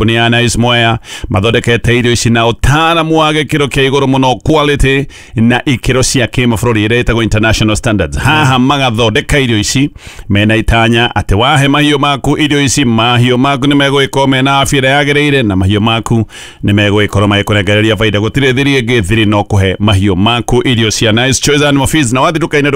Kambuni ya Nice Mwea mathondekete irio ici na ũtaaramu wa gĩkĩro kĩa igũrũ mũno, quality na ikĩro cia kĩmabũrũri iria ĩtagwo international standards. Haha magathondeka irio ici mena itanya atĩ wahe mahiũ maku irio ici, mahiũ maku nĩ megũgĩkorwo mena afya ĩrĩa yagĩrĩire na mahiũ maku nĩ megũgĩkorwo magĩkũnengereria baida. Gũtirĩ thiri ĩngĩ, thiri no kũhe mahiũ maku irio cia Nice Choice Animal Feeds. Na wathiĩ nduka-inĩ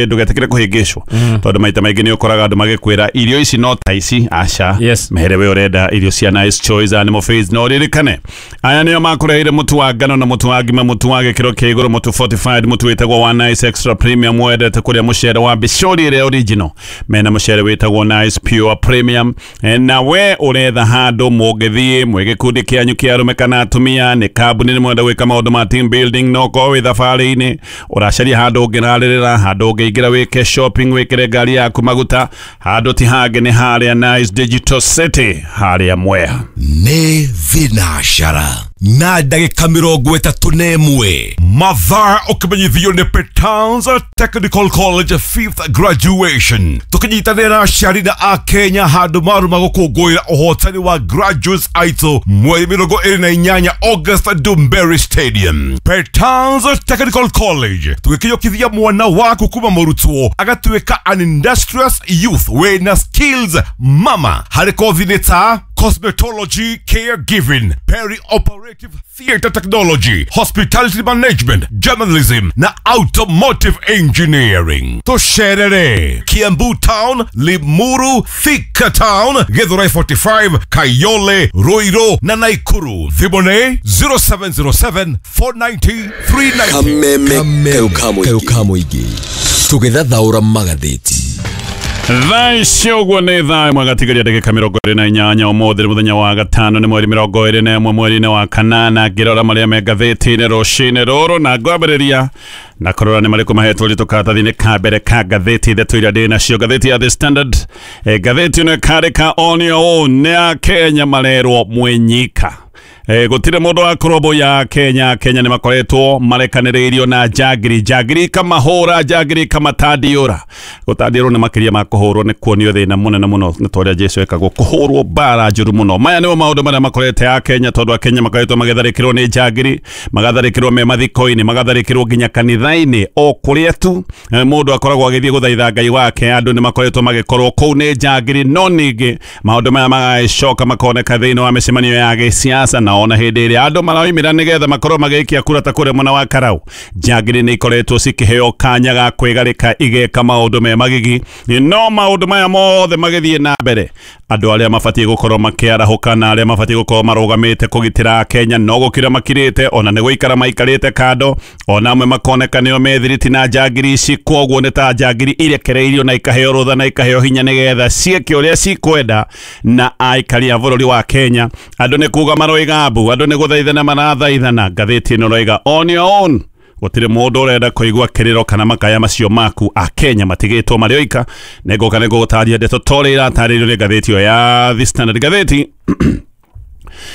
ndũgetĩkĩre kũhĩngĩcwo, tondũ maita maingĩ nĩ ũkoraga andũ magĩkwĩra irio ici no ta ici. Aca. Mehere we ũrenda irio cia Nice Choice Animal Feeds. No ririkane aya nĩo makũreheire mũtu wa ngano na mũtu wa ngima, mũtu wa gĩkĩro kĩa igũrũ, mũtu fortified, mũtu wĩtagwo wa Nice Extra Premium. Wendete kũrĩa mũcere wa Bishori ĩrĩa original, mena mũcere wĩtagwo Nice Pure Premium. Na we ũretha handũ mũngĩthiĩ mwĩ gĩkundi kĩanyu kĩa arũme kana atumia, nĩ kambuni, nĩ mwenda gwĩka maũndũ ma team building, no korwo wĩ thabarĩ-inĩ ũracaria handũ ũngĩrarĩrĩra, handũ ũngĩingĩra wĩke shopping, wĩkĩre ngari yaku maguta, handũ ti hangĩ nĩ harĩa Nice Digital City harĩa Mwea. Nĩ thinacara na ndagĩka 31 mathaa, ũkĩmenyithio nĩ Petans Technical College fifth graduation, tũkĩnyitanĩra na aciari na akenya handũ maruma gũkũngũĩra ũhotani wa graduates aitũ mweri 28 August, Ndumberi Stadium. Petans Technical College tũgĩkinyũkithia mwana waku kuma mũrutwo agatuĩka an industrious youth wĩna skills mama harĩ kothi nĩ ta cosmetology, caregiving, peri-operative theater technology, hospitality management, journalism na automotive engineering. Tusherere Kiambu Town, Limuru, Thika Town, Githurai 45, Kayole, Ruiru na Nakuru. Thimũ 0707 490 390. Kameme kayo ka mũingĩ tũgĩthathaũra magathĩti. Thaa ici ũguo nĩ thaa 1 gatigaria ndagĩka 28. Ũmũthĩ nĩ mũthenya wa gatano, nĩ mweri 21 mweri-inĩ wa kanana. Ngĩrora marĩa me ngathĩti-inĩ rũcinĩ rũrũ, na ngwambĩrĩria na kũrora nĩ marĩkũ mahetwo ũritũ karatathi-inĩ ka mbere ka ngathĩti ithatũ iria ndĩ nacio. Ngathĩti ya The Standard, ngathĩti ĩno ĩkandĩka "On your own", nĩ ya Kenya marerwo mwenyika. Gũtirĩ mũndũ wa kũrũmbũiya Kenya. Kenya nĩ makoretwo marekanĩrĩirio na njangiri, njangiri ikamahũra, njangiri ikamatadiũra. Gũtandiũrwo nĩ makĩria ma kũhũrwo, nĩ kuonio thĩna mũnene mũno, nĩ ta ũrĩa Jesu ekagwo, kũhũrwo mbara njũru mũno. Maya nĩmo maũndũ marĩa makorete a Kenya, tondũ akenya makoretwo magĩtharĩkĩrwo nĩ njangiri, magatharĩkĩrwo me mathiko-inĩ, magatharĩkĩrwo nginya kanitha-inĩ, o kũrĩa tu mũndũ akoragwo agĩthiĩ gũthaitha Ngai wake, andũ nĩ makoretwo magĩkorwo kũu nĩ njangiri. No ningĩ maũndũ maya magagĩcoka makoneka thĩinĩ wa mĩcemanio ya gĩsiasa, na ona hĩndĩ ĩrĩa andũ maraumĩra nĩgetha makorwo magĩikia kura ta kũrĩa mwena wa Karau, njangiri nĩ ikoretwo cikĩheo kanya ga kwĩgarĩka igeka maũndũ me magigi. No maũndũ maya mothe magĩthiĩ na mbere, andũ arĩa mabatiĩ gũkorwo makĩarahũka na arĩa mabatiĩ gũkorwo marũgamĩte kũgitĩra Kenya no gũkira makirĩte, ona nĩ gũikara maikarĩte kando, ona amwe makoneka nĩo methiriti na njangiri ici. Kwoguo nĩ ta njangiri irekereirio na ikaheo rũtha na ikaheo hinya nĩgetha ciĩke ũrĩa cikwenda na aikari a bũrũri wa Kenya. Andũ nĩ kuga maroiga mbu, andũ nĩ gũthaithana marathaithana. Ngathĩti ĩno roiga "On your own", gũtirĩ mũndũ ũrenda kũigua kĩrĩro kana makaya macio maku. Akenya matigĩtwo marĩ oika. Nĩngũka nĩngũgũtaria ndeto torĩa iratarĩrio nĩ ngathĩti ĩyo ya The Standard. Ngathĩti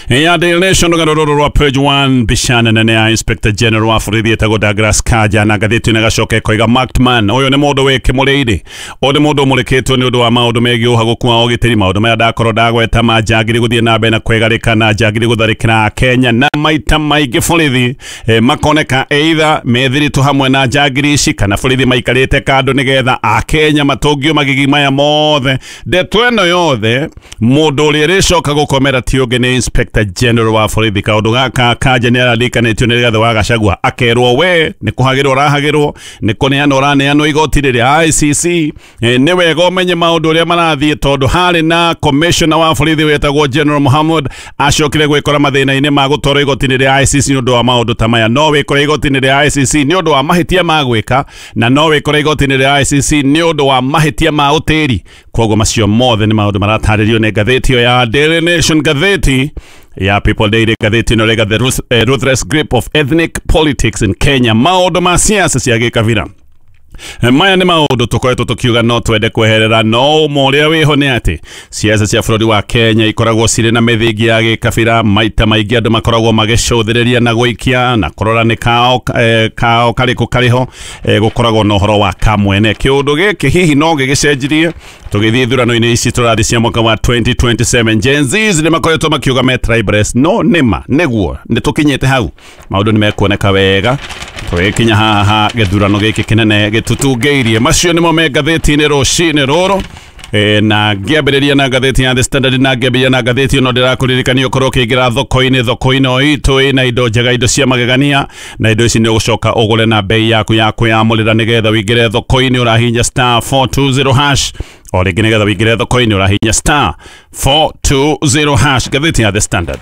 ya Daily Nation, rũgano rũrũ rwa page 1, mbica nene ya Inspector General wa borithi etagwo Douglas Kanja, na ngathĩti ĩno ĩgacoka ĩkoiga "Marked man". Ũyũ nĩ mũndũ wĩ kĩmũrĩire, ũyũ nĩ mũndũ ũmũrĩkĩtwo nĩ ũndũ wa maũndũ megiĩ ũhagũku wa ũgitĩri, maũndũ maya ndakorwo ndagweta ma njangiri gũthiĩ na mbere na kwĩgarĩka na njangiri gũtharĩkĩra Kenya, na maita maingĩ borithi makoneka either methiritũ hamwe na njangiri ici kana borithi maikarĩte kando nĩgetha akenya matũngio magigi maya mothe. Ndeto ĩno yothe, mũndũ ũrĩa ĩrĩcoka gũkomera ti ũngĩ nĩ Inspector General wa borithi. Kaũndũ gaka Kanja nĩ araririkanĩtio nĩ Rigathĩ wa Gachagua, akerwo we nĩ kũhagĩrwo ũrahagĩrwo, nĩ kũneanwo ũraneanwo igoti rĩrĩa ICC. Nĩ wega ũmenye maũndũ ũrĩa marathiĩ, tondũ harĩ na commissioner wa borithi wetagwo General Muhammad acokire gwĩkora mathĩna-inĩ ma gũtwarwo igoti-inĩ rĩa ICC nĩ ũndũ wa maũndũ ta maya. No wĩkore igoti-inĩ rĩa ICC nĩ ũndũ wa mahĩtia ma gwĩka, na no wĩkore igoti-inĩ rĩa ICC nĩ ũndũ wa mahĩtia ma ũtĩri. Koguo macio mothe nĩ maũndũ maratarĩrio nĩ ngathĩti ĩyo ya Daily Nation. Ngathĩti ya People Daily, ngathĩti ĩno rĩga "The ruthless grip of ethnic politics in Kenya", maũndũ ma siasa cia gĩkabira. Maya nĩ maũndũ tũkoretwo tũkiuga no twende kweherera, no ũma ũrĩa wĩho nĩ atĩ siasa cia bũrũri wa Kenya ikoragwo cirĩ na mĩthingi ya gĩkabira. Maita maingĩ andũ makoragwo magĩcũthĩrĩria na gũikia na kũrora nĩ kao kao karĩkũ karĩho. Gũkoragwo na ũhoro wa kamwene. Kĩũndũ gĩkĩ hihi no gĩgĩcenjirie Tũgĩthiĩ ithurano-inĩ ici tũrathiĩ cia mwaka wa 2027. Gen Zs nĩ makoretwo makiuga me tribeless, no nĩma nĩguo nĩ tũkinyĩte hau, maũndũ nĩ mekuoneka wega tũgĩkinya haha gĩthurano gĩkĩ kĩnene gĩtũtungĩirie. Macio nĩmo me ngathĩti-inĩ rũcinĩ rũrũ. Na ngĩambĩrĩria na ngathĩti ya The Standard, na ngĩambĩrĩria na ngathĩti ĩno ndĩrakũririkania ũkorwo ũkĩingĩra thoko-inĩ. Thoko-inĩ o itũ ĩna indo njega, indo cia magegania, na indo ici nĩ ũgũcoka ũgũre na bei yaku ya kwĩyamũrĩra. Nĩgetha wĩingĩre thoko-inĩ ũrahihinya star 420 hash. O rĩngĩ, nĩgetha wĩingĩre thoko-inĩ ũrahihinya star 420 hash. Ngathĩti ya The Standard: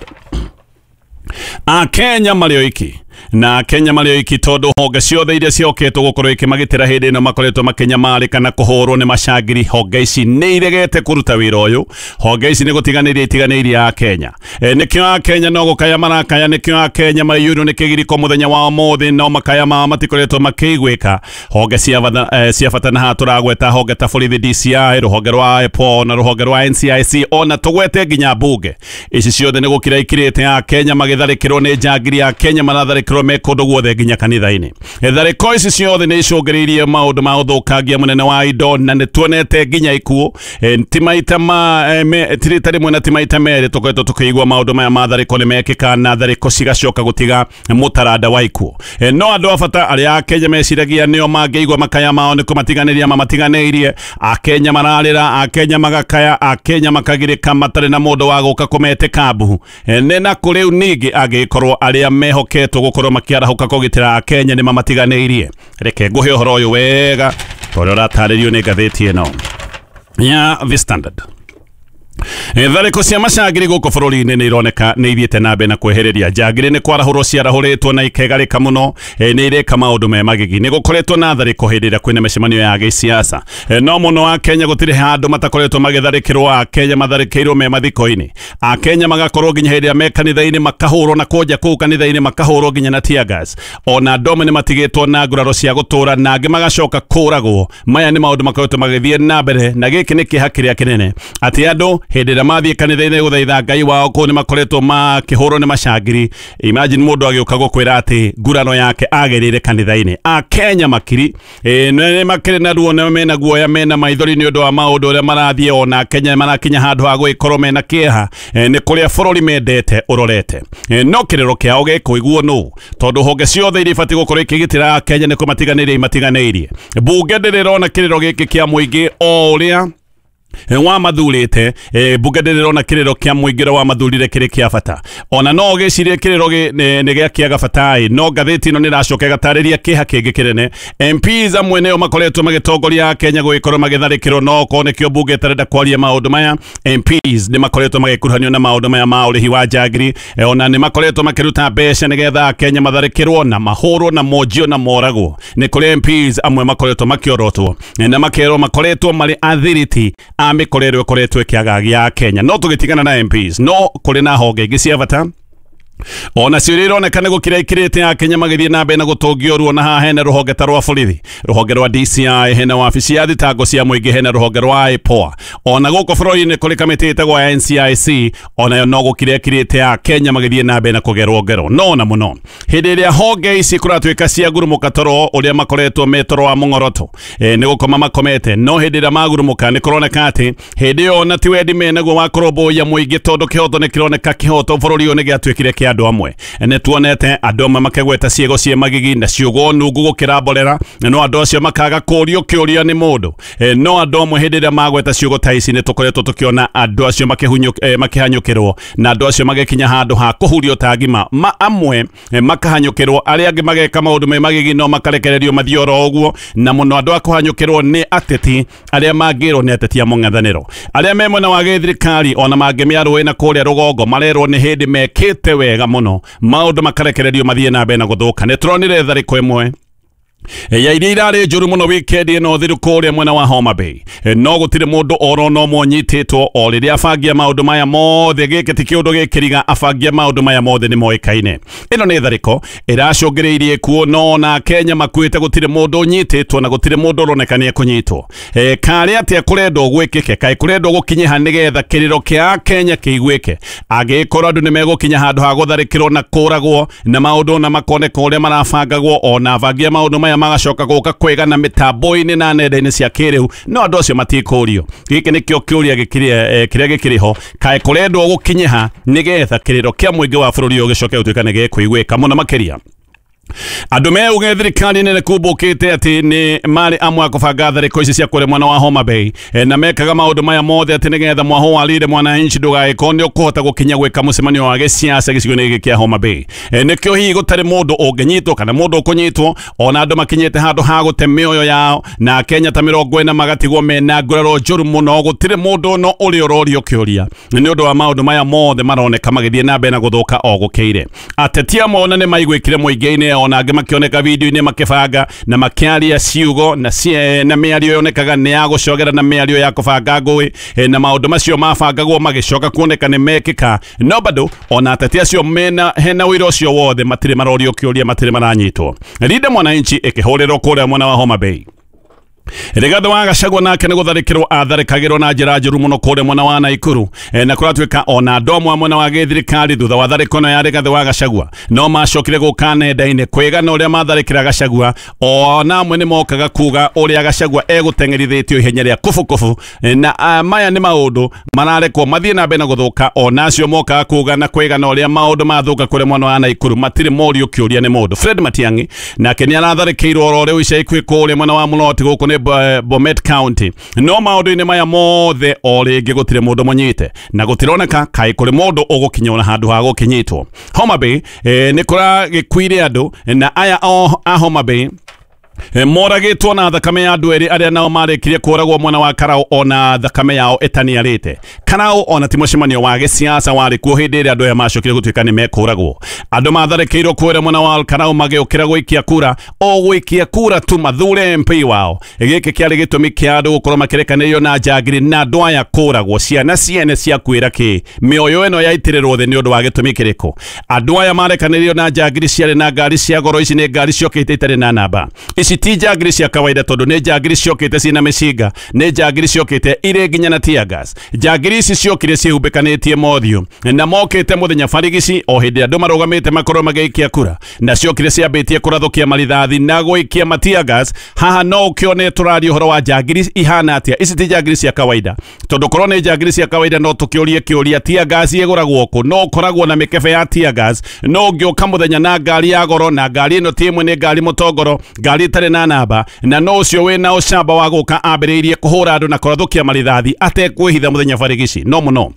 Akenya marĩ oiki, na Kenya marĩ oiki tondũ honge ciothe iria ciokĩtwo gũkorwo ikĩmagitĩra hĩndĩ ĩno makoretwo makĩnyamarĩka na kũhũrwo nĩ macangiri. Honge ici nĩ iregete kũruta wĩra ũyũ. Honge ici nĩ gũtiganĩria itiganĩirie a Kenya. Nĩkĩo a Kenya no gũkaya marakaya, nĩkĩo a Kenya maiyũirwo nĩ kĩgiriko mũthenya wa ũmũthĩ, no makaya mao matikoretwo makĩiguĩka. Honge cia bata, cia bata, na haha tũragweta honge ta borithi, DCI, rũhonge rwa IPOA na rũhonge rwa NCIC, ona tũgwete nginya mbunge. Ici ciothe nĩ gũkira ikirĩte a Kenya magĩtharĩkĩrwo nĩ njangiri. A Kenya maratharĩkĩrwo me kũndũ guothe, nginya kanitha-inĩ. Tharĩko ici ciothe nĩ icũngĩrĩirie maũndũ ma ũthũkangia mũnene wa indo, na nĩ tuonete nginya ikuũ. Ti maita ma ti rita rĩmwe na ti maita merĩ tũkoretwo tũkĩigua maũndũ maya ma tharĩko nĩ mekĩka, na tharĩko cigacoka gũtiga mũtaranda wa ikuũ. No andũ a bata arĩa Akenya meciragia nĩo mangĩigua makaya mao nĩ kũmatiganĩria mamatiganĩirie. Akenya mararĩra, Akenya magakaya, Akenya makagirĩka matarĩ na mũndũ wa gũka kũmetĩka mbuhu. Nĩ na kũrĩu ningĩ angĩkorwo arĩa mehoketwo gũkorwo makĩarahũka kũgitĩra Akenya nĩ mamatiganĩirie. Reke ngũhe ũhoro ũyũ wega tondũ ũratarĩrio nĩ ngathĩti ĩno ya The Standard. Tharĩko cia macangiri gũkũ bũrũri-inĩ nĩ ironeka nĩ ithiĩte na mbere na kwehereria. Njangiri nĩ kwarahũrwo ciarahũrĩtwo na ikegarĩka mũno, nĩ ireka maũndũ me magigi. Nĩ gũkoretwo na tharĩko hĩndĩ ĩrĩa kwĩna mĩcemanio ya gĩsiasa. No mũno a Kenya gũtirĩ handũ matakoretwo magĩtharĩkĩrwo. A Kenya matharĩkĩirwo me mathiko-inĩ, a Kenya magakorwo nginya hĩndĩ ĩrĩa me kanitha-inĩ makahũrwo na kũnja kũu kanitha-inĩ makahũrwo nginya na tear gas. Ona andũ amwe nĩ matigĩtwo na nguraro cia gũtũra, na angĩ magacoka kũragwo. Maya nĩ maũndũ makoretwo magĩthiĩ na mbere, na gĩkĩ nĩ kĩeha kĩrĩa kĩnene atĩ andũ hĩndĩ ĩrĩa mathiĩ kanitha-inĩ gũthaitha Ngai wao kũu nĩ makoretwo makĩhũrwo nĩ macangiri. Imagine mũndũ agĩũka gũkwĩra atĩ nguraro yake agĩrĩire kanitha-inĩ. A Kenya makiri nĩ makĩrĩ na ruo na mena guoya, mena maithori nĩ ũndũ wa maũndũ ũrĩa marathiĩ. Ona Kenya marakinya handũ ha gũgĩkorwo mena kĩeha nĩ kũrĩa bũrũri mendete ũrorete. No kĩrĩro kĩao gĩkũiguo nũ, tondũ honge ciothe iria ibatiĩ gũkorwo ikĩgitĩra Kenya nĩ kũmatiganĩria imatiganĩirie? Mbunge ndĩrĩrona kĩrĩro gĩkĩ kĩa mũingĩ o ũrĩa wa mathurĩte. Mbunge ndĩrĩrona kĩrĩro kĩa mũingĩ ũrĩa wa mathurire kĩrĩ kĩa bata, ona no ũgĩcirie kĩrĩro nĩ gĩa kĩaga bata. No ngathĩti ĩno nĩ ĩracoka ĩgatarĩria kĩeha kĩngĩ kĩnene. MPs amwe nĩo makoretwo magĩtongoria Kenya gũgĩkorwo magĩtharĩkĩrwo, no okorwo nĩkĩo mbunge ĩtarenda kwaria maũndũ maya. MPs nĩ makoretwo magĩkuruhanio na maũndũ maya ma ũrĩhi wa njangiri. Ona nĩ makoretwo makĩruta mbeca nĩgetha Kenya matharĩkĩrwo na mahũrwo na monjio na moragwo. Nĩ kũrĩ MPs amwe makoretwo makĩorotwo na makerwo makoretwo marĩ athiriti a mĩkora ĩrĩa ĩkoretwo ĩkĩagagia Kenya. No tũgĩtigana na MPs, no kũrĩ na honge ingĩ cia bata ona cio iria ironeka nĩ gũkira ikirĩte ya Kenya magĩthiĩ na mbere na gũtũngio ruo. Na haha hena rũhonge ta rwa borithi, rũhonge rwa DCI, hena wabici ya thitango cia mũingĩ, hena rũhonge rwa IPOA. Ona gũkũ bũrũri-inĩ kũrĩ kamĩtĩ ĩtagwo ya NCIC, onayo no gũkira ĩkirĩte ya Kenya magĩthiĩ na mbere na kũgerwo ngero. No na mũno hĩndĩ ĩrĩa honge ici kũratuĩka cia ngurumũka toro ũrĩa makoretwo me toro wa mũng'oroto, nĩ gũkoma makomete, no hĩndĩ ĩrĩa magurumũka nĩ kũroneka atĩ hĩndĩ ĩyo ona ti wendi menaguo wa kũrũmbũiya mũingĩ, tondũ kĩhoto nĩ kĩroneka, kĩhoto bũrũri ũyũ nĩ gĩatuĩkire kĩa andũ amwe. Nĩ tuonete andũ amwe makĩgweta ciĩgo ciĩ magigi na ciugo nungu gũkĩra mborera, no andũ acio makaga kũrio kĩũria nĩ mũndũ. No andũ amwe hĩndĩ ĩrĩa magweta ciugo ta ici nĩ tũkoretwo tũkĩona andũ acio makĩhanyũkĩrwo, na andũ acio magĩkinya handũ ha kũhurio ta ngima. Ma amwe makahanyũkĩrwo, arĩa angĩ mageka maũndũ me magigi no makarekererio mathiĩ oro ũguo. Na mũno andũ a kũhanyũkĩrwo nĩ ateti arĩa mangĩrwo nĩ ateti a mũng'ethanĩro. Arĩa me mwena wa gĩthirikari ona mangĩmĩarũĩ na kũrĩa rũgongo marerwo nĩ hĩndĩ mekĩte wega mũno, maũndũ makarekererio mathiĩ na mbere na gũthũka. Nĩ tũronire tharĩko ĩmwe ya iria irarĩ njũru mũno wikendi ĩno thiru kũrĩa mwena wa Homa Bay. No gũtirĩ mũndũ oro no monyitĩtwo o rĩrĩa abangia maũndũ maya mothe. Gĩkĩ ti kĩũndũ gĩkĩriga, abangia maũndũ maya mothe nĩ moĩkaine. Ĩno nĩ tharĩko ĩracũngĩrĩirie kuo, no ona Kenya makuĩte gũtirĩ mũndũ ũnyitĩtwo na gũtirĩ mũndũ ũroneka nĩ ekũnyitwo. Karĩ atĩa kũrendwo gwĩkĩke? Kaĩ kũrendwo gũkinyiha nĩgetha kĩrĩro kĩa Kenya kĩiguĩke? Angĩkorwo andũ nĩ megũkinya handũ ha gũtharĩkĩrwo na kũragwo na maũndũ na makoneka ũrĩa marabangagwo, ona abangia maũndũ maya. maya magacoka gũka kwĩgana mĩtambo-inĩ na nenda-inĩ cia kĩrĩu, no andũ acio matikũrio. Gĩkĩ nĩkĩo kĩũria kĩrĩa gĩkĩrĩ ho, kaĩ kũrendwo gũkinyiha nĩgetha kĩrĩro kĩa mũingĩ wa bũrũri ũyũ gĩcoke gũtuĩka nĩ gĩkũiguĩka mũno makĩria. Andũ meuge thirikari nene kumbũkĩte atĩ nĩ marĩ amwe a kũbanga tharĩko ici cia kũrĩa mwena wa Homa Bay, na mekaga maũndũ maya mothe atĩ nĩgetha mwaho wa Linda Mwananchi ndũgagĩkorwo nĩ ũkũhota gũkinya gwĩka mũcemanio wa gĩsiasa gĩcigo-inĩ gĩkĩ kĩa Homa Bay. Nĩkĩo hihi gũtarĩ mũndũ ũngĩnyitwo kana mũndũ ũkũnyitwo, ona andũ makinyĩte handũ ha gũte mĩoyo yao na Kenya ta 40 magatigwo mena nguraro njũru mũno. Gũtirĩ mũndũ no ũrĩa ũrorio kĩũria nĩ ũndũ wa maũndũ maya mothe maroneka magĩthiĩ na mbere na gũthũka o gũkĩire. Ateti amwe ona nĩ maiguĩkire mũingĩ-inĩ, ona angĩ makĩoneka video-inĩ makĩbanga na makĩaria ciugo na mĩario yonekaga nĩ ya gũcogera na mĩario ya kũbanga ngũĩ, na maũndũ macio mabangagwo magĩcoka kuoneka nĩ mekĩka. No bado ona ateti acio mena hena ũira ũcio wothe matirĩ marorio kĩũria, matirĩ maranyitwo. Linda Mwananchi ĩkĩhũrĩrwo kũrĩa mwena wa Homa Bay. Rigathi wa Gachagua nake nĩ gũtharĩkĩrwo atharĩkagĩrwo na njĩra njũru mũno kũrĩa mwena wa Naikuru, na kũratuĩka ona andũ amwe mwena wa gĩthirikari thutha wa tharĩko ĩno ya Rigathi wa Gachagua no macokire gũka nenda-inĩ kwĩgana ũrĩa matharĩkĩra Gachagua, ona amwe nĩ mokaga kuga ũrĩa Gachagua egũteng'erithĩtio ihenya rĩa kubukubu, na maya nĩ maũndũ mararekwo mathiĩ na mbere na gũthũka. Ona acio mokaga kuga na kwĩgana ũrĩa maũndũ mathũka kũrĩa mwena wa Naikuru matirĩ morio kĩũria nĩ mũndũ. Fred Matiang'i nake nĩ aratharĩkĩirwo oro rĩu ica ikuhĩ kũrĩa mwena wa Mũloti gũkũ nĩ Bomet County. No maũndũ-inĩ maya mothe o rĩngĩ gũtirĩ mũndũ mũnyite na gũtironeka kaĩ kũrĩ mũndũ ũgũkinya ona handũ ha gũkinyitwo. Homa Bay nĩ kũragĩkuire andũ, na aya a Homa Bay moragĩtwo na thakame ya andũ erĩ arĩa nao marĩkirie kũragwo mwena wa Karau ona thakame yao ĩtaniarĩte. Karau ona ti mũcemanio wa gĩsiasa warĩ kuo hĩndĩ ĩrĩa andũ aya macokire gũtuĩka nĩ mekũragwo. Andũ matharĩkĩirwo kũrĩa mwena wa Karau magĩũkĩra gũikia kura, o gũikia kura tu mathure MP wao. Gĩkĩ kĩarĩ gĩtũmi kĩa andũ gũkorwo makĩrekanĩrio na njangiri na andũ aya kũragwo. Ciana ciene ciakuĩra kĩ? Mĩoyo ĩno yaitĩrĩrwo thĩ nĩ ũndũ wa gĩtũmi kĩrĩkũ? Andũ aya marekanĩrio na njangiri ciarĩ na ngari cia goro. Ici nĩ ngari ciokĩte itarĩ na namba. Ici ti njangiri cia kawaida tondũ nĩ njangiri ciokĩte ciĩna mĩcinga, nĩ njangiri ciokĩte irĩ nginya na tear gas. Njangiri ici ciokire ciĩhumbĩkanĩtie mothiũ na mokĩte mũthenya barigici o hĩndĩ andũ marũgamĩte makorwo magĩikia kura, na ciokire ciambĩtie kũrathũkia marithathi na gũikia ma tear gas. Haha no ũkĩone tũraria ũhoro wa njangiri ihana atĩa. Ici ti njangiri cia kawaida tondũ korwo nĩ njangiri cia kawaida no tũkĩũrie kĩũria, tear gas ĩgũragwo kũ? No ũkoragwo na mĩkebe ya tear gas, no ũngĩũka mũthenya na ngari ya goro, na ngari ĩno ti ĩmwe, nĩ ngari mũtongoro, ngari ĩtarĩ na namba, na no ũcio wĩna ũcamba wa gũka ambĩrĩirie kũhũra andũ na kũrathũkia marithathi atekwĩhitha mũthenya barigici. No mũno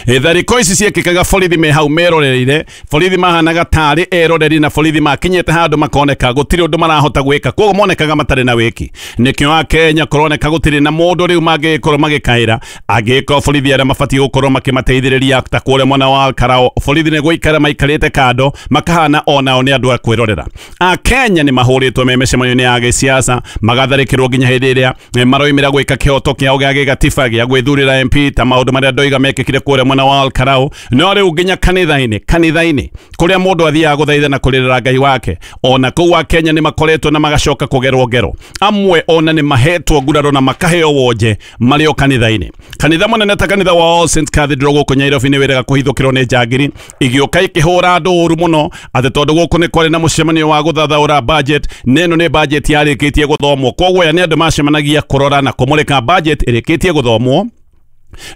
tharĩko ici ciekĩkaga borithi me hau meroreire, borithi mahanaga tarĩ eroreri, na borithi makinyĩte handũ makoneka gũtirĩ ũndũ marahota gwĩka, koguo monekaga matarĩ na wĩki. Nĩkĩo Akenya kũroneka gũtirĩ na mũndũ rĩu mangĩgĩkorwo magĩkaĩra angĩkorwo borithi arĩa mabatiĩ gũkorwo makĩmateithĩrĩria ta kũrĩa mwena wa Karau, borithi nĩ gũikara maikarĩte kando makahana onao nĩ andũ a kwĩrorera. Akenya nĩ mahũrĩtwo me mĩcemanio-inĩ ya gĩsiasa, magatharĩkĩrwo nginya hĩndĩ ĩrĩa maroimĩra gwĩka kĩhoto kĩao gĩa gĩgatiba gĩa gwĩthurĩra MP ta maũndũ marĩa ndoiga mekĩkire kũrĩa mwena wa Karau. No rĩu nginya kanitha-inĩ kũrĩa mũndũ athiaga gũthaitha na kũrĩrĩra Ngai wake, ona kũu Akenya nĩ makoretwo na magacoka kũgerwo ngero. Amwe ona nĩ mahetwo nguraro na makaheo wonje marĩ o kanitha-inĩ. Kanitha mũnene ta kanitha wa All Saints Cathedral gũkũ Nairobi nĩ wĩrega kũhithũkĩrwo nĩ njangiri igĩũka ikĩhũra andũ ũru mũno atĩ tondũ gũkũ nĩ kwarĩ na mũcemanio wa gũthathaũra budget, na ĩno nĩ budget yarĩkĩtie gũthomwo. Koguo aya nĩ andũ macemanagia kũrora na kũmũrĩka budget ĩrĩkĩtie gũthomwo.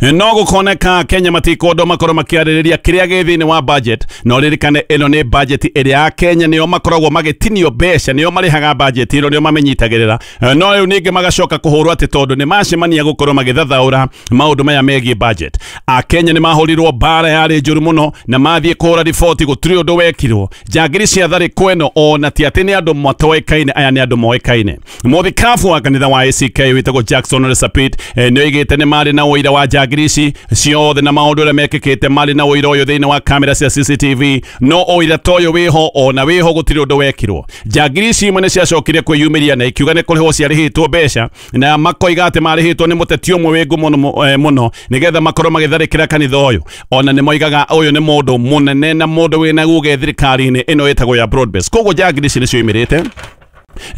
No gũkoneka Kenya matikondo makorwo makĩarĩrĩria kĩrĩa gĩ thĩinĩ wa budget. No ririkane ĩno nĩ budget ĩrĩa Kenya nĩo makoragwo magĩtinio mbeca, nĩo marĩhaga budget ĩno, nĩo mamenyitagĩrĩra. No rĩu ningĩ magacoka kũhũrwo atĩ tondũ nĩ macemania gũkorwo magĩthathaũra maũndũ maya megiĩ budget. Akenya nĩ mahũrirwo mbara yarĩ njũru mũno na mathiĩ kũhũra riboti, gũtirĩ ũndũ wekirwo. Njangiri cia tharĩko ĩno ona ti atĩ nĩ andũ matoĩkaine, aya nĩ andũ moĩkaine. Mũthikabu wa kanitha wa ACK wĩtagwo Jackson Ole Sapit nĩ oigĩte nĩ marĩ na ũira wa njangiri ici ciothe na maũndũ ũrĩa mekĩkĩte, marĩ na ũira ũyũ thĩinĩ wa kamera cia CCTV. No ũira ta ũyũ wĩho, ona wĩho gũtirĩ ũndũ wekirwo. Njangiri ici imwe nĩ ciacokire kwĩyumĩria na ikiuga nĩ kũrĩhwo ciarĩhĩtwo mbeca, na makoiga atĩ marĩhĩtwo nĩ mũteti ũmwe wĩ ngumo mũno nĩgetha makorwo magĩtharĩkĩra kanitha ũyũ. Ona nĩ moigaga ũyũ nĩ mũndũ mũnene na mũndũ wĩna uge thirikari-inĩ ĩno ĩtagwo ya broad base. Koguo njangiri ici nĩ cioimĩrĩte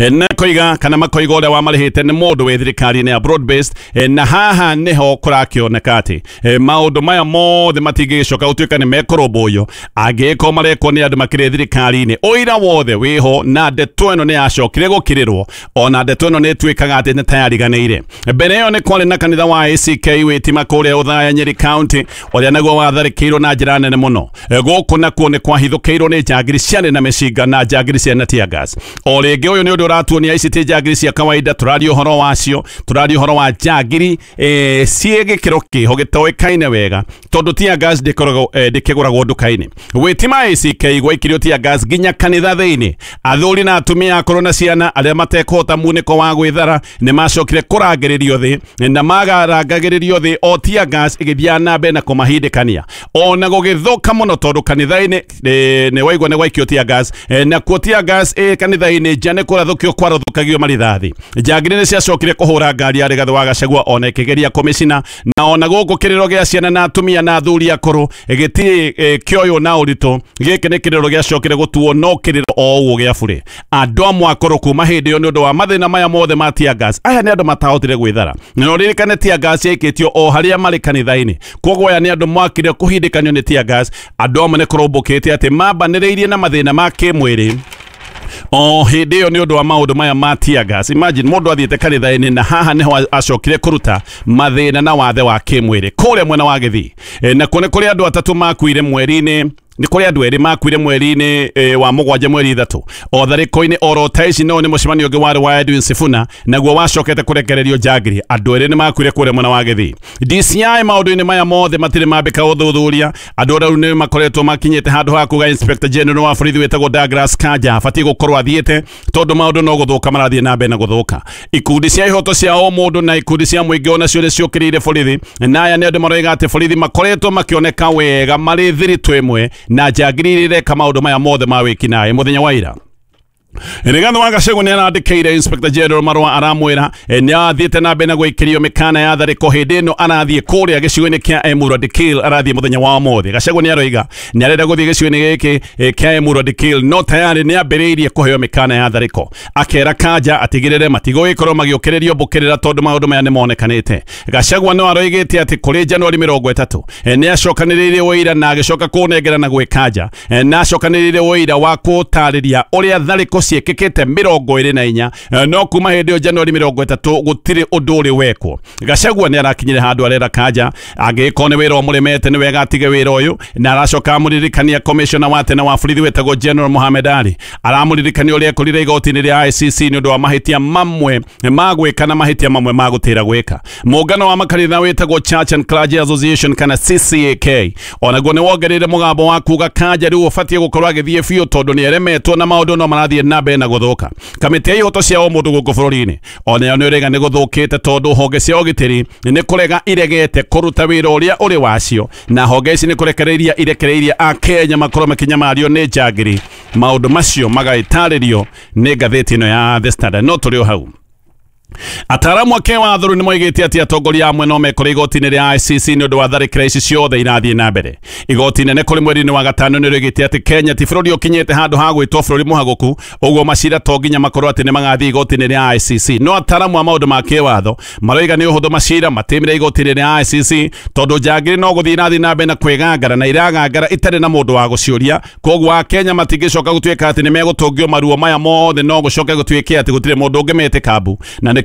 Na koiga kana makoiga ũrĩa wamarĩhĩte nĩ mũndũ wĩ thirikari-inĩ ya broad based. Na haha nĩho kũrakĩoneka atĩ maũndũ maya mothe matingĩgĩcoka gũtuĩka nĩ mekũrũmbũiyo angĩgĩkorwo marekwo nĩ andũ makĩrĩ thirikari-inĩ. Ũira wothe wĩho, na ndeto ĩno nĩ yacokire gũkirĩrwo, ona ndeto ĩno nĩ ĩtuĩkaga atĩ nĩ tayariganĩire. Mbere ĩyo nĩ kwarĩ na kanitha wa ACK wĩtima kũrĩa Othaya Nyeri County, ũrĩa naguo watharĩkĩirwo na njĩra nene mũno. Gũkũ nakuo nĩ kwahithũkĩirwo nĩ njangiri ciarĩ na mĩcinga na njangiri ciarĩ na tear gas. O rĩngĩ ũyũ nĩ ũndũ ũratuonia ici ti njangiri cia kawaida, tũraria ũhoro wacio, tũraria ũhoro wa njangiri ciĩ gĩkĩro kĩho gĩtoĩkaine wega, tondũ tear gas ndĩkĩgũragwo nduka-inĩ. Wĩtima ACK gwaikirio tear gas nginya kanitha thĩinĩ. Athuri na atumia akũrũ na ciana arĩa matekũhota munĩko wa gwĩthara nĩ macokire kũrangĩrĩrio thĩ, na magarangagĩrĩrio thĩ o tear gas ĩgĩthiaga na mbere na kũmahindĩkania, ona gũgĩthũka mũno tondũ kanitha-inĩ nĩ waigua nĩ gwaikio tear gas, nakuo tear gas kanitha-inĩ nja nĩ kũrathũkio kwarathũkagio marithathi. Njangiri nĩ ciacokire kũhũra ngari ya Rigathĩ wa Gachagua ona ĩkĩgeria kũmĩcina, na ona gũkũ kĩrĩro gĩa ciana na atumia na athuri akũrũ gĩtirĩ kĩoywo na ũritũ. Gĩkĩ nĩ kĩrĩro gĩacokire gũtuo no kĩrĩro o ũguo gĩa burĩ. Andũ amwe akũrũ kuma hĩndĩ ĩyo nĩ ũndũ wa mathĩna maya mothe ma tear gas, aya nĩ andũ matahotire gwĩthara. Na ũririkane tear gas yaikĩtio o harĩa marĩ kanitha-inĩ, koguo aya nĩ andũ mwakire kũhindĩkanio nĩ tear gas. Andũ amwe nĩ kũrũmbũkĩte atĩ mambanĩrĩirie na mathĩna ma kĩmwĩrĩ o hĩndĩ ĩyo nĩ ũndũ wa maũndũ maya ma tear gas. Imagine mũndũ athiĩte kanitha-inĩ na haha nĩho acokire kũruta mathĩna na wathe wa kĩmwĩrĩ kũrĩa mwena wa Gĩthii. Nakuo nĩ kũrĩ andũ atatũ makuire mweri-inĩ, nĩ kũrĩ andũ erĩ makuire mweri-inĩ wa mũgwanja mweri 3 o tharĩko-inĩ oro ta ici. No nĩ mũcemanio ũngĩ warĩ wa Edwin Sifuna, naguo wacokete kũrekererio njangiri. Andũ erĩ nĩ makuire kũrĩa mwena wa Gĩthii. DCI maũndũ-inĩ maya mothe matirĩ mambĩka ũthuthuria. Andũ rĩu nĩ makoretwo makinyĩte handũ ha kuga Inspector General wa borithi wĩtagwo Douglas Kanja abatiĩ gũkorwo athiĩte, tondũ maũndũ no gũthũka marathiĩ na mbere na gũthũka. Ikundi cia ihoto cia o mũndũ na ikundi cia mũingĩ onacio nĩ ciũkĩrĩire borithi, na aya nĩ andũ maroiga atĩ borithi makoretwo makĩoneka wega marĩ thiritũ ĩmwe na njangiri iria ireka maũndũ maya mothe ma wĩkinaĩ. Mũthenya wa ira Rigathĩ wa Gachagua nĩ arandĩkĩire Inspector General marũa aramwĩra nĩ athiĩte na mbere na gũikĩrio mĩkana ya tharĩko hĩndĩ ĩno arathiĩ kũrĩa gĩcigo-inĩ kĩa Emurua Dikirr, arathiĩ mũthenya wa ũmũthĩ. Gachagua nĩ aroiga nĩ arenda gũthiĩ gĩcigo-inĩ gĩkĩ kĩa Emurua Dikirr, no tayarĩ nĩ ambĩrĩirie kũheo mĩkana ya tharĩko. Akera Kanja atigĩrĩre matigũgĩkorwo magĩũkĩrĩrio mbũkĩrĩra tondũ maũndũ maya nĩ monekanĩte. Gachagua no aroigĩte atĩ kũrĩ Januari 30 nĩ acokanĩrĩire ũira na agĩcoka kũnengera na gwĩ Kanja, na acokanĩrĩire ũira wa kũtarĩria ũrĩa tharĩko ciĩkĩkĩte 24, no kuma hĩndĩ ĩyo Januari 30 gũtirĩ ũndũ ũrĩ wekwo. Gachagua nĩ arakinyire handũ arera Kanja angĩgĩkorwo nĩ wĩra ũmũremete nĩ wega atige wĩra ũyũ, na aracoka amũririkania commissioner wa tene wa borithi wĩtagwo General Mohamed Ali, aramũririkania ũrĩa ekorire igoti-inĩ rĩa ICC nĩ ũndũ wa mahĩtia mamwe ma gwĩka na mahĩtia mamwe ma gũtĩra gwĩka. Mũngano wa makanitha wĩtagwo Church and Clergy Association kana CCAK onaguo nĩ wongereire mũgambo wa kuga Kanja rĩu ũbatiĩ gũkorwo agĩthiĩ biũ tondũ nĩ eremetwo na maũndũ no marathiĩ na mbere na gũthũka. Kamĩtĩ ya ihoto cia ũmũndũ gũkũ bũrũri-inĩ onayo nĩ ũrega nĩ gũthũkĩte tondũ honge cia ũgitĩri nĩ kũrega iregete kũruta wĩra ũrĩa ũrĩ wacio, na honge ici nĩ kũrekereiria irekereirie Akenya makorwo makĩnyamario nĩ njangiri. Maũndũ macio magagĩtarĩrio nĩ ngathĩti ĩno ya The Standard. No tũrĩ o hau, Ataaramu a kĩwatho nĩ moigĩte atĩ atongoria amwe no mekore igoti-inĩ rĩa ICC nĩ ũndũ wa tharĩkĩra ici ciothe irathiĩ na mbere. Igoti inene kũrĩ mweri-inĩ wa gatano nĩ rĩoigĩte atĩ Kenya ti bũrũri ũkinyĩte handũ ha gwĩtwo bũrũri mũhagũku, ũguo macira to nginya makorwo atĩ nĩ magathiĩ igoti-inĩ rĩa ICC. No ataaramu a maũndũ ma kĩwatho maroiga nĩ ũhũthũ macira matĩmĩre igoti-inĩ rĩa ICC tondũ njangiri no gũthiĩ irathiĩ na mbere na kwĩgangara na iragangara itarĩ na mũndũ wa gũciũria. Koguo Akenya matingĩcoka gũtuĩka atĩ nĩ megũtũngio maruo maya mothe, no gũcoke gũtuĩke atĩ gũtirĩ mũndũ ũngĩmetĩka mbu. Na nĩkĩo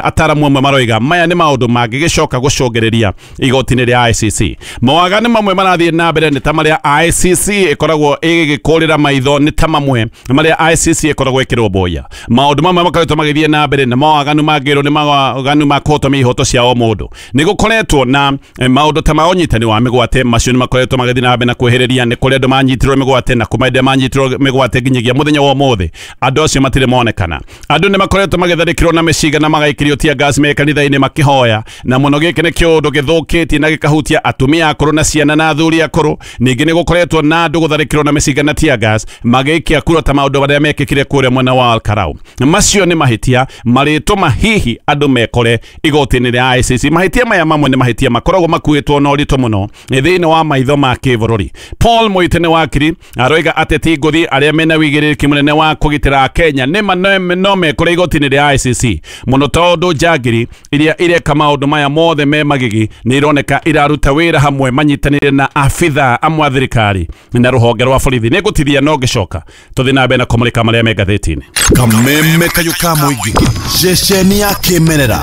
ataaramu amwe maroiga maya nĩ maũndũ mangĩgĩcoka gũcũngĩrĩria igoti-inĩ rĩa ICC. Mawaganu mamwe marathiĩ na mbere nĩ ta marĩa ICC ĩkoragwo ĩgĩkũrĩra maitho, nĩ ta mamwe marĩa ICC ĩkoragwo ĩkĩrũmbũiya. Maũndũ mamwe makoretwo magĩthiĩ na mbere na mawaganu mangĩrwo nĩ mawaganu ma kũhotomia ihoto cia o mũndũ. Nĩ gũkoretwo na maũndũ ta ma ũnyitani wa mĩgwate, macio nĩ makoretwo magĩthiĩ na mbere na kwĩhĩrĩria. Nĩ kũrĩ andũ manyitirwo mĩgwate na kuma hĩndĩ manyitirwo mĩgwate nginyagia mũthenya wa ũmũthĩ andũ acio matirĩ monekana. Andũ nĩ makoretwo magĩtharĩkĩrwo na mĩcinga na magaikĩrio tear gas me kanitha-inĩ makĩhoya, na mũno gĩkĩ nĩ kĩũndũ gĩthũkĩtie na gĩkahutia atumia akũrũ na ciana na athuri akũrũ. Ningĩ nĩ gũkoretwo na andũ gũtharĩkĩrwo na mĩcinga na tear gas magĩikia kura ta maũndũ marĩa mekĩkire kũrĩa mwena wa Al-Karau. Macio nĩ mahĩtia marĩtũma hihi andũ mekore igoti-inĩ rĩa ICC. Mahĩtia maya mamwe nĩ mahĩtia makoragwo makuĩtwo na ũritũ mũno thĩinĩ wa maitho ma kĩbũrũri. Paul Muite nĩ wakiri aroiga ateti ngũthi arĩa mena wĩigĩrĩrĩki mũnene wa kũgitĩra Kenya nĩ no mekore igoti-inĩ rĩa ICC mũno, tondũ njangiri iria ireka maũndũ maya mothe me magigi nĩ ironeka iraruta wĩra hamwe manyitanĩire na abitha amwe a thirikari na rũhonge rwa borithi. Nĩ ngũtithia no ngĩcoka tũthiĩ na mbere na kũmũrĩka marĩa me ngathĩti-inĩ. Kameme kayũ ka mũingĩ, ceceni ya kĩmerera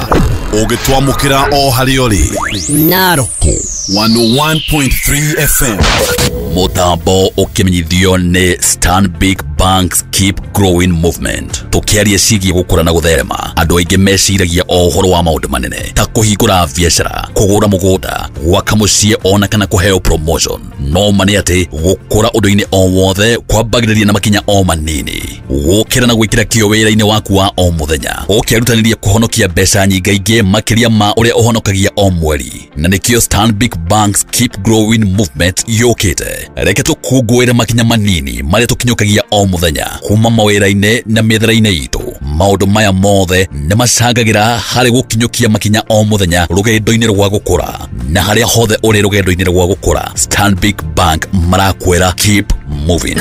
ũgĩtwamũkĩra o harĩa ũrĩ. Naroko 101.3 FM. Mũtambo ũkĩmenyithio nĩ Stanbic Banks Keep Growing Movement. Tũkĩaria ciĩgiĩ gũkũra na gũtherema, andũ aingĩ meciragia o ũhoro wa maũndũ manene ta kũhingũra biacara, kũgũra mũgũnda, gwaka mũciĩ ona kana kũheo promotion. No ma nĩ atĩ gũkũra ũndũ-inĩ o wothe kwambagĩrĩria na makinya o manini. Gũkĩra na gwĩkĩra kĩo wĩra-inĩ waku wa o mũthenya, ũkĩrutanĩria kũhonokia mbeca nyingaingĩ makĩria ma ũrĩa ũhonokagia o mweri. Na nĩkĩo Stanbic Banks Keep Growing Movement yũkĩte. Reke tũkũngũĩre makinya manini marĩa tũkinyũkagia o mũthenya kuma mawĩra-inĩ na mĩethere-inĩ itũ. Maũndũ maya mothe nĩ macangagĩra harĩ gũkinyũkia makinya o mũthenya rũgendo-inĩ rwa gũkũra. Na harĩa hothe ũrĩ rũgendo-inĩ rwa gũkũra, Stanbic Bank marakwĩra keep moving.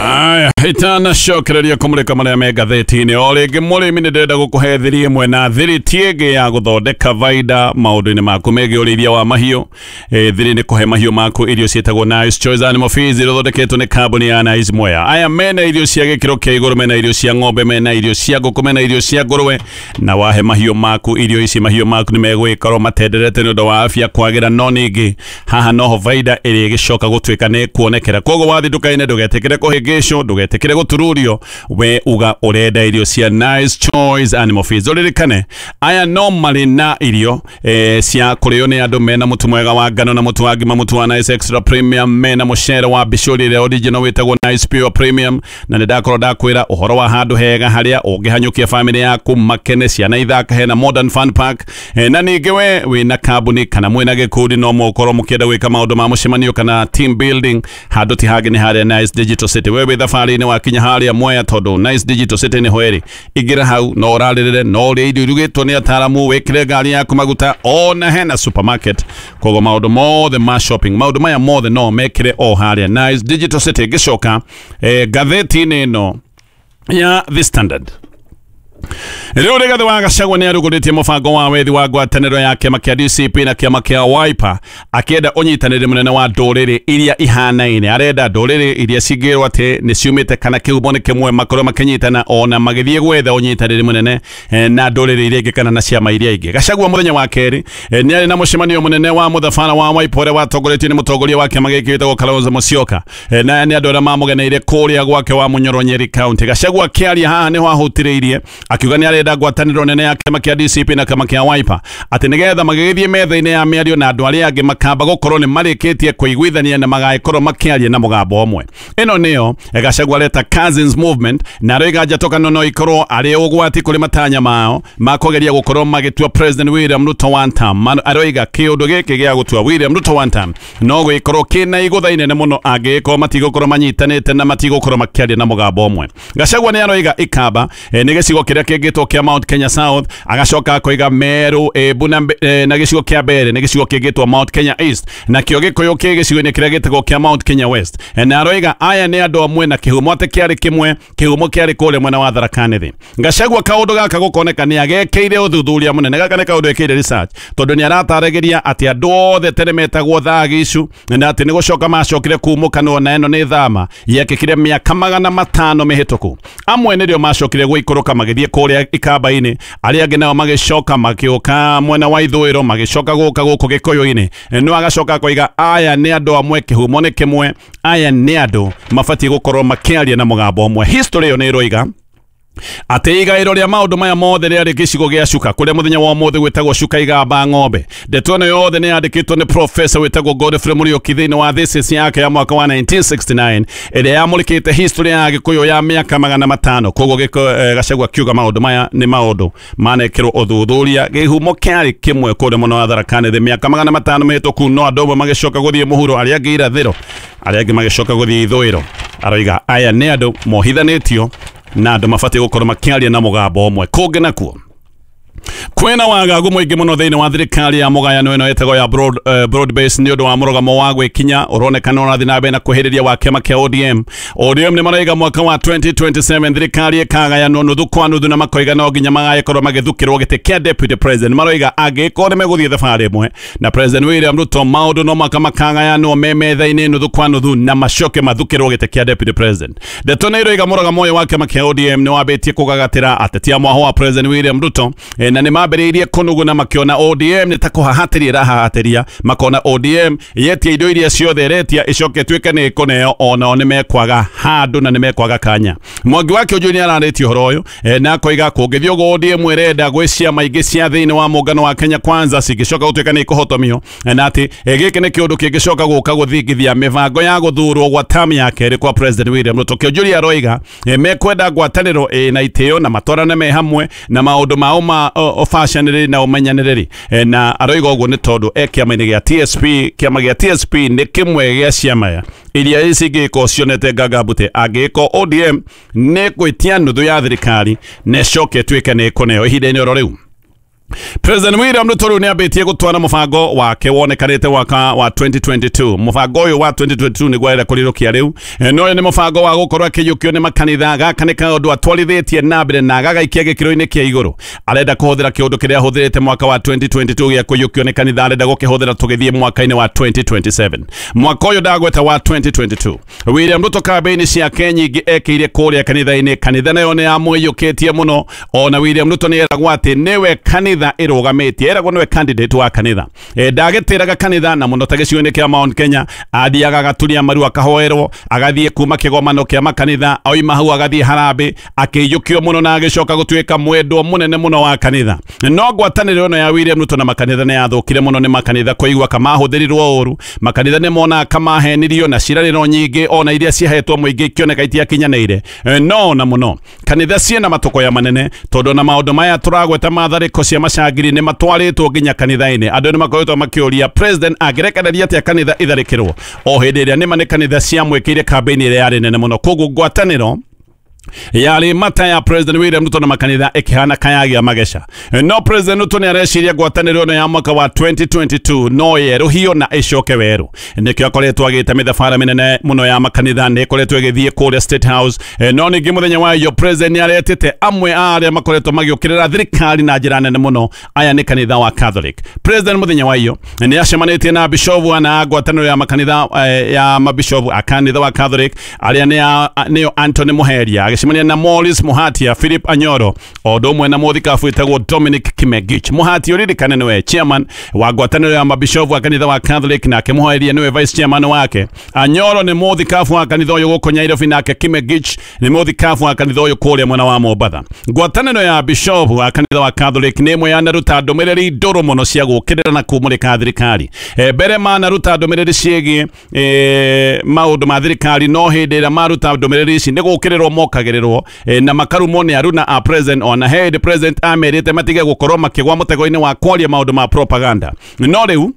Aya, itanacokereria kũmũrĩka marĩa me ngathĩti-inĩ. O rĩngĩ mũrĩmi nĩ ndĩrenda gũkũhe thiri ĩmwe na thiri ti ĩngĩ ya gũthondeka baida maũndũ-inĩ maku megiĩ ũrĩithia wa mahiũ. Thiri nĩ kũhe mahiũ maku irio ciĩtagwo Nice Choice Animal Feeds, iria ithondeketwo nĩ kambuni ya Nice Mwea. Aya mena irio cia gĩkĩro kĩa igũrũ, mena irio cia ng'ombe, mena irio cia ngũkũ, mena irio cia ngũrũwe. Na wahe mahiũ maku irio ici, mahiũ maku nĩ megũgĩkorwo matenderete nĩ ũndũ wa afya kwagĩra, no ningĩ haha noho baida ĩrĩa ĩgĩcoka gũtuĩka nĩ kuonekera. Koguo wathiĩ nduka-inĩ ndũgetĩkĩre kũhĩngĩcwo, ndũgetĩkĩre gũtururio, we uga ũrenda irio cia Nice Choice Animal Feeds. Ũririkane aya no marĩ na irio cia kũrĩo nĩ andũ mena mũtu mwega wa ngano na mũtu wa ngima, mũtu wa Nice Extra Premium, mena mũcere wa bicũri ĩrĩa original wĩtagwo Nice Pure Premium. Na nĩ ndakorwo ndakwĩra ũhoro wa handũ hega harĩa ũngĩhanyũkia famĩlĩ yaku makene, ciana ithaka, hena Modern Fun Park. Na ningĩ we wĩna kambuni kana mwĩna gĩkundi no mũkorwo mũkĩenda gwĩka maũndũ ma mũcemanio kana team building, handũ ti hangĩ nĩ harĩa Nice Digital City. We wĩ thabarĩ-inĩ wakinya harĩa Mwea, tondũ Nice Digital City nĩho ĩrĩ. Ingĩra hau no ũrarĩrĩre, no ũrĩe irio irugĩtwo nĩ ataaramu, wĩkĩre ngari yaku maguta, ona hena supermarket. Koguo maũndũ mothe ma shopping, maũndũ maya mothe no mekĩre o harĩa Nice Digital City. Ngĩcoka ngathĩti-inĩ ĩno ya The Standard, Rĩu Rigathĩ wa Gachagua nĩ arugũrĩtie mũbango wa wethi wa ngwatanĩro ya kĩama kĩa DCP na kĩama kĩa Wiper, akĩenda ũnyitanĩri mũnene wa ndũrĩrĩ iria ihanaine. Arenda ndũrĩrĩ iria cingĩrwo atĩ nĩ ciumĩte kana kĩhumo nĩ kĩmwe makorwo makĩnyitana ona magĩthiĩ gwetha ũnyitanĩri mũnene na ndũrĩrĩ iria ingĩ kana na ciama iria ingĩ. Gachagua mũthenya wa kerĩ nĩ arĩ na mũcemanio mũnene wa mũthabara wa Wiper ũrĩa watongoretio nĩ mũtongoria wa kĩama gĩkĩ wĩtagwo Kalonzo Musyoka, na nĩ andũ arĩa mamũgeneire kũrĩa gwake wa Munyoro Nyeri County. Gachagua akĩaria haha nĩho ahutĩrĩirie akiuga nĩ arenda ngwatanĩro nene ya kĩama kĩa DCP na kĩama kĩa Wiper, atĩ nĩgetha magĩgĩthiĩ metha-inĩ ya mĩario na andũ arĩa angĩ makamba gũkorwo nĩ marĩkĩtie kũiguithania na magagĩkorwo makĩaria na mũgambo ũmwe. Ĩno nĩyo Gachagua areta Cousins Movement, na aroiga njatũkano no ikorwo arĩ ũgwati kũrĩ matanya mao ma kũgeria gũkorwo magĩtua President William Ruto one term. Aroiga kĩũndũ gĩkĩ gĩa gũtua William Ruto one term no gũgĩkorwo kĩna igũtha inene mũno angĩgĩkorwo matigũkorwo manyitanĩte na matigũkorwo makĩaria na mũgambo ũmwe. Gachagua nĩ aroiga Ikamba nĩ gĩcigo kĩrĩa kĩngĩtwo kĩa Mount Kenya South, agacoka akoiga Meru, Embu na gĩcigo kĩa Mbere nĩ gĩcigo kĩngĩtwo Mount Kenya East, na kĩo Gĩkũyũ kĩ gĩcigo-inĩ kĩrĩa gĩtagwo kĩa Mount Kenya West. Na aroiga aya nĩ andũ amwe na kĩhumo atĩ kĩarĩ kĩmwe, kĩhumo kĩarĩ kũrĩa mwena wa Tharaka Nithi. Gachagua kaũndũ gaka gũkoneka nĩ agekĩire ũthuthuria mũnene, gaka nĩ kaũndũ ekĩire research, tondũ nĩ arataragĩria atĩ andũ othe tene metagwo Thagicu na atĩ nĩ gũcoka macokire kumũkanwo na ĩno nĩ thama yekĩkire mĩaka 500 mĩhĩtũku. Amwe nĩrĩo macokire gũikũrũka magĩthiĩ kũrĩa Ikamba-inĩ, arĩa angĩ nao magĩcoka magĩũka mwena wa ithũĩro, magĩcoka gũka gũkũ Gĩkũyũ-inĩ. No agacoka akoiga aya nĩ andũ amwe, kĩhumo nĩ kĩmwe, aya nĩ andũ mabatiĩ gũkorwo makĩaria na mũgambo ũmwe. History ĩyo nĩ ĩroiga Atĩ igaĩro rĩa maũndũ maya mothe rĩarĩ gĩcigo gĩa Cuka kũrĩa mũthenya wa ũmũthĩ gwĩtagwo Cuka Igamba Ng'ombe. Ndeto ĩno yothe nĩ yandĩkĩtwo nĩ professor wĩtagwo Godfrey Mũriũki thĩinĩ wa thesis yake ya mwaka wa 1969 ĩrĩa yamũrĩkĩte history ya Gĩkũyũ ya mĩaka 500. Koguo Gachagua akiuga maũndũ maya nĩ maũndũ manekĩrwo ũthuthuria. Gĩhumo kĩarĩ kĩmwe kũrĩa mũno wa Tharaka Nithi mĩaka 500 mĩhĩtũku, no andũ amwe magĩcoka gũthiĩ mũhuro, arĩa angĩ irathĩro, arĩa angĩ magĩcoka gũthiĩ ithũĩro. Aroiga aya nĩ andũ mohithanĩtio na andũ mabatiĩ gũkorwo makĩaria na mũgambo ũmwe. Kũngĩ nakuo kwĩna wagagu mũingĩ mũno thĩinĩ wa thirikari ya mũgayano ĩno ĩtagwo ya broad base nĩ ũndũ wa mũrũgamo wa gwĩkinya ũronekana ũrathiĩ na mbere na kwĩhĩrĩria wa kĩama kĩa ODM. ODM nĩ maraiga mwaka wa 2027 thirikari ĩkagayanwo nuthu kwa nuthu na makoiga no nginya magagĩkorwo magĩthukĩrwo gĩtĩ kĩa deputy president. Maroiga angĩkorwo nĩ megũthiĩ thabarĩ ĩmwe na President William Ruto, maũndũ no maka makagayanwo me metha-inĩ nuthu kwa nuthu na macoke mathukĩrwo gĩtĩ kĩa deputy president. Ndeto nĩ iroiga mũrũgamo ũyũ wa kĩama kĩa ODM nĩ wambĩtie kũgagatĩra ateti a mwahũ wa President William Ruto, na nĩ mambĩrĩirie kũnuguna makĩona ODM nĩ ta kũhahatĩria ĩrahahatĩria, makona ODM yetia indo iria ciothe ĩretia ĩcoke ĩtuĩke nĩ ĩkũneo, onao nĩ mekwaga handũ na nĩ mekwaga kanya. Mwangi wa Kĩũnjũi nĩ ararĩtie ũhoro ũyũ, na akoiga kũngĩthiĩ ũguo ODM ĩrenda gwĩ ciama ingĩ cia thĩinĩ wa mũngano wa Kenya Kwanza cingĩcoka gũtuĩka nĩ ikũhotomio, na atĩ gĩkĩ nĩ kĩũndũ kĩngĩcoka gũka gũthingithia mĩbango ya gũthurwo gwa term ya kerĩ kwa President William Ruto. Kĩũnjũri aroiga mekwenda ngwatanĩro ĩna itĩo na matwarane me hamwe na maũndũ mao ma ũbacanĩrĩri na ũmenyanĩrĩri, na aroiga ũguo nĩ tondũ e kĩama-inĩ gĩa TSP. Kĩama gĩa TSP nĩ kĩmwe gĩa ciama iria cingĩkorwo cionete ngangabute angĩkorwo ODM nĩ gwĩtia nuthu ya thirikari na ĩcoke ĩtuĩke nĩ ĩkũneo ihinda-inĩ oro rĩu. President William Ruto rĩu nĩambĩtie gũtwara mũbango wake wonekanĩte mwaka wa 2022. Mũbango ũyũ wa 2022 nĩguo arenda kũrirũkia rĩu, no ũyũ nĩ mũbango wa gũkorwo akĩiyũkio nĩ makanitha. Gaka nĩ kaũndũ atwarithĩtie na mbere na agagaikia gĩkĩro-inĩ kĩa igũrũ. Arenda kũhũthĩra kĩũndũ kĩrĩa ahũthĩrĩte mwaka wa 2022 gĩa kũiyũkio nĩ kanitha, arenda gũkĩhũthĩra tũgĩthiĩ mwaka-inĩ wa 2027. Mwaka ũyũ ndagweta wa 2022, William Ruto kambĩini ciake nyingĩ ekĩire kũrĩa kanitha-inĩ. Kanitha nayo nĩ yamũiyũkĩtie mũno, ona William Ruto nĩ eragwo atĩ nĩwe kanitha ĩrũgamĩtie, eragwo nĩwe candidate wa kanitha. Ndagĩtĩraga kanitha na mũno ta gĩcigo-inĩ kĩa Mount Kenya, athiaga agaturia maru akahoerwo, agathiĩ kuma kĩgomano kĩa makanitha, oima hau agathiĩ harambĩ akĩiyũkio mũno na agĩcoka gũtuĩka mwendwo mũnene mũno wa kanitha. No ngwatanĩro ĩno ya William Ruto na makanitha nĩ yathũkire mũno nĩ makanitha kũigua kamahũthĩrirwo ũru. Makanitha nĩ monaga kamahenirio na ciĩranĩro nyingĩ ona iria ciahetwo mũingĩ ikĩoneka itiakinyanĩire. No na mũno kanitha ciĩna matũkũya manene tondũ na maũndũ maya tũragweta ma tharĩko cia macangiri nĩ matwarĩtwo nginya kanitha-inĩ. Andũ nĩ makoretwo makĩũria president angĩrekereria atĩa kanitha itharĩkĩrwo o hĩndĩ ĩrĩa nĩma nĩ kanitha ciamwĩkĩire kambĩini ĩrĩa yarĩ nene mũno. Koguo ngwatanĩro yarĩ mata ya President William Ruto na makanitha ĩkĩhana kayagia mageca. No President Ruto nĩ areciria ngwatanĩro ĩno ya mwaka wa 2022 no yerũhio na ĩcoke werũ. Nĩkĩo akoretwo agĩta mĩthabara mĩnene mũno ya makanitha, nĩ ĩkoretwo ĩgĩthiĩ kũrĩa State House. No ningĩ mũthenya wa iyo President nĩ aretĩte amwe a arĩa makoretwo magĩũkĩrĩra thirikari na njĩra nene mũno, aya nĩ kanitha wa Catholic. President mũthenya wa iyo nĩ acemanĩtie na bishofu ana ngwatanĩro ya makanitha ya mabishofu a kanitha wa Catholic arĩa nĩo Anthony Muheria, agĩcemania na Morris Muhatia, Philip Anyoro, o ũndũ ũmwe na mũthikabu wĩtagwo Dominic Kimegich. Muhatia ũririkane nĩwe chairman wa ngwatanĩro ya mabishofu a kanitha wa Catholic, nake Muheria nĩwe vice chairman wake. Anyoro nĩ mũthikabu wa kanitha ũyũ gũkũ Nairobi, nake Kimegich nĩ mũthikabu wa kanitha ũyũ kũrĩa mwena wa Mombatha. Ngwatanĩro ya bishofu wa kanitha wa Catholic nĩ ĩmwe yanaruta ndũmĩrĩri ndũrũ mũno cia gũũkĩrĩra na kũmũrĩka thirikari. Mbere manaruta ndũmĩrĩri ciĩgiĩ maũndũ ma thirikari, no hĩndĩ ĩrĩa maruta ndũmĩrĩri ici nĩ gũũkĩrĩrwo mokagĩrĩrwo na makarumwo nĩ aruna a president. Ona hĩndĩ president amerite matige gũkorwo makĩgwa mũtego-inĩ wa kwaria maũndũ ma propaganda. No rĩu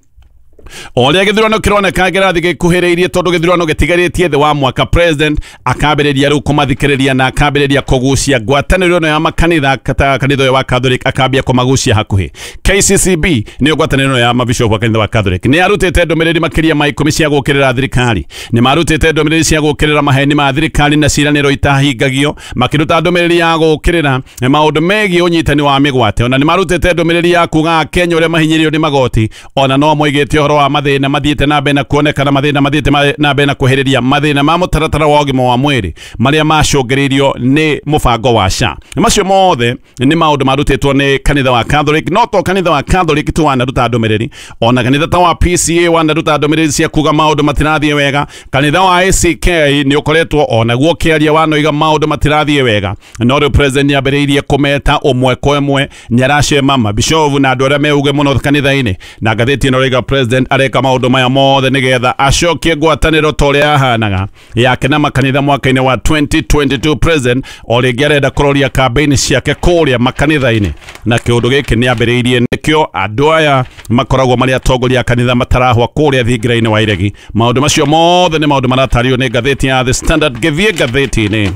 o ũrĩa gĩthurano kĩroneka kĩrathiĩ gĩkuhĩrĩirie, tondũ gĩthurano gĩtigarĩtie thĩ wa mwaka, president akambĩrĩria rĩu kũmathikĩrĩria na akambĩrĩria kũgucia ngwatanĩro ĩno ya makanitha ta kanitha ũyũ wa Catholic, akambia kũmagucia hakuhĩ. KCCB nĩyo ngwatanĩro ĩno ya mabishopu wa kanitha wa Catholic nĩ yarutĩte ndũmĩrĩri makĩria ma 10 cia gũũkĩrĩra thirikari. Nĩ marutĩte ndũmĩrĩri cia gũũkĩrĩra maheni ma thirikari na ciĩranĩro itahingagio, makĩruta ndũmĩrĩri ya gũũkĩrĩra maũndũ megiĩ ũnyitani wa mĩgwate. Ona nĩ marutĩte ndũmĩrĩri ya kuga Akenya ũrĩa mahinyĩrĩirio nĩ magoti, ona no moigĩte ũhoro wa mathĩna mathiĩte na mbere na kuonekana, mathĩna mathiĩte na mbere na kwehereria mathĩna ma mũtaratara wa ũgima wa mwĩrĩ marĩa macũngĩrĩirio nĩ mũbango wa SHA. Macio mothe nĩ maũndũ marutĩtwo nĩ kanitha wa Catholic. No to kanitha wa Catholic tu wanaruta ndũmĩrĩri, ona kanitha ta wa PCA wanaruta ndũmĩrĩri cia kuga maũndũ matirathiĩ wega. Kanitha wa ACK nĩ ũkoretwo onaguo ũkĩaria wanoiga maũndũ matirathiĩ wega, no rĩu president nĩambĩrĩirie kũmeta ũmwe kwa ĩmwe, nĩaracema mabishovu na andũ arĩa meuge mũno kanitha-inĩ. Na ngathĩti ĩno ĩrauga president areka maũndũ maya mothe nĩgetha acokie ngwatanĩro ta ũrĩa yahanaga yake na makanitha mwaka-inĩ wa 2022. President o rĩngĩ arenda kũroria campaign ciake kũrĩa makanitha-inĩ, na kĩũndũ gĩkĩ nĩambĩrĩirie nĩkĩo andũ aya makoragwo marĩ atongoria a kanitha matarahwa kũrĩa thingira-inĩ wa iregi. Maũndũ macio mothe nĩ maũndũ maratario nĩ ngathĩti ya The Standard. Ngĩthiĩ ngathĩti-inĩ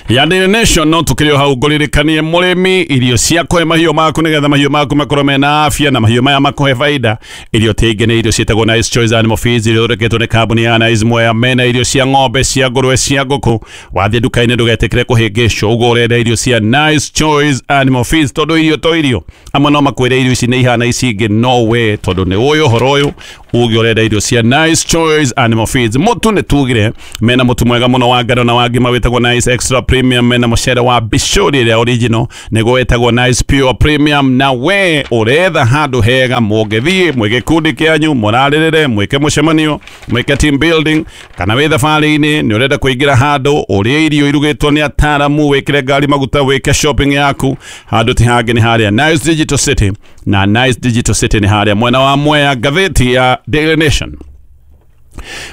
ya Daily Nation, no tukĩrĩ o hau ngũririkanie mũrĩmi irio cia kũhe mahiũ maku nĩgetha mahiũ maku makorwo mena afya na mahiũ maya makũhe baida. Irio tingĩ nĩ irio ciĩtagwo Nice Choice Animal Feeds, irio ithondeketwo nĩ kambuni ya Nice Mwea. Mena irio cia ng'ombe, cia ngũrwe, cia ngũkũ. Wathiĩ nduka-inĩ ndũgetĩkĩre kũhĩngĩcwo ũguo ũrenda irio cia Nice Choice Animal Feeds, tondũ irio to irio. Amwe no makwĩre irio ici nĩ ihana ici ingĩ, no we tondũ nĩ ũĩ ũhoro ũyũ uge ũrenda irio cia Nice Choice Animal Feeds. Mũtu nĩ tugire mena mũtu mwega mũno wa ngano na wa ngima wĩtagwo Nice Extra Premium, mena mũcere wa bishori ĩrĩa original nĩguo wĩtagwo Nice Pure Premium. Na we ũretha handũ hega mũngĩthiĩ mwĩ gĩkundi kĩanyu, mũrarĩrĩre, mwĩke mũcemanio, mwĩke team building, kana wĩ thabarĩ-inĩ nĩ ũrenda kũingĩra handũ ũrĩe irio irugĩtwo nĩ ataramu, wĩkĩre ngari maguta, wĩke shopping yaku, handũ ti hangĩ nĩ harĩa Nice Digital City. Na Nice Digital City nĩ harĩa mwena wa Mwea. Ngathĩti ya Daily Nation.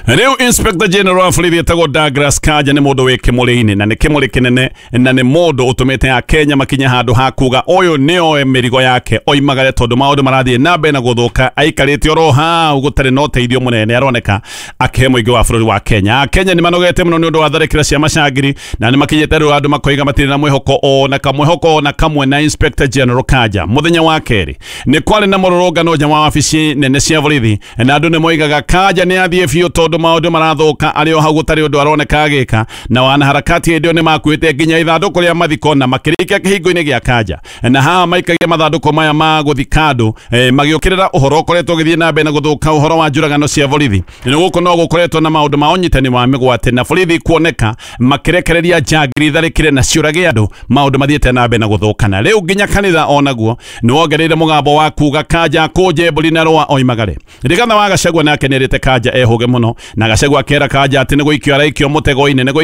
Rĩu Inspector General wa borithi etagwo Douglas Kanja nĩ mũndũ wĩ kĩmũrĩ-inĩ, na nĩ kĩmũrĩ kĩnene, na nĩ mũndũ ũtũmĩte Akenya makinye handũ ha kuga ũyũ nĩoe mĩrigo yake oimagare, tondũ maũndũ marathiĩ na mbere na gũthũka, aikarĩte oro hau gũtarĩ na ũteithio mũnene aroneka akĩhe mũingĩ wa bũrũri wa Kenya. Akenya nĩ manogete mũno nĩ ũndũ wa tharĩkĩra cia macangiri, na nĩ makinyĩte rĩu andũ makoiga matirĩ na mwĩhoko ona kamwĩhoko ona kamwe na Inspector General Kanja. Mũthenya wa kerĩ nĩ kwarĩ na mũrũrũngano nja wa wabici nene cia borithi, na andũ nĩ moigaga Kanja nĩ athiĩ biũ tondũ maũndũ marathuka arĩ o hau gũtarĩ ũndũ aroneka agĩka. Na wanaharakati hĩndĩ ĩyo nĩ makuĩte nginya ithandũkũ rĩa mathiko na makĩrĩkia kĩhingo-inĩ gĩa Kanja, na haha maikagia mathandũkũ maya ma gũthika andũ, magĩũkĩrĩra ũhoro ũkoretwo ũgĩthiĩ na mbere na gũthũka, ũhoro wa njũragano cia borithi. Nĩ gũkũ no gũkoretwo na maũndũ ma ũnyitani wa mĩgwate na borithi kuoneka makĩrekereria njangiri itharĩkĩre na ciũrage andũ, maũndũ mathiĩte na mbere na gũthũka. Na rĩu nginya kanitha onaguo nĩ wongereire mũgambo wa kuga Kanja akũnje mbũri na rũa oimagare. Rigathi wa Gachagua nake nĩerĩte Kanja ehũge mũno, na Gachagua akera Kanja atĩ nĩ gũikio araikio mũtego-inĩ, nĩ gũikio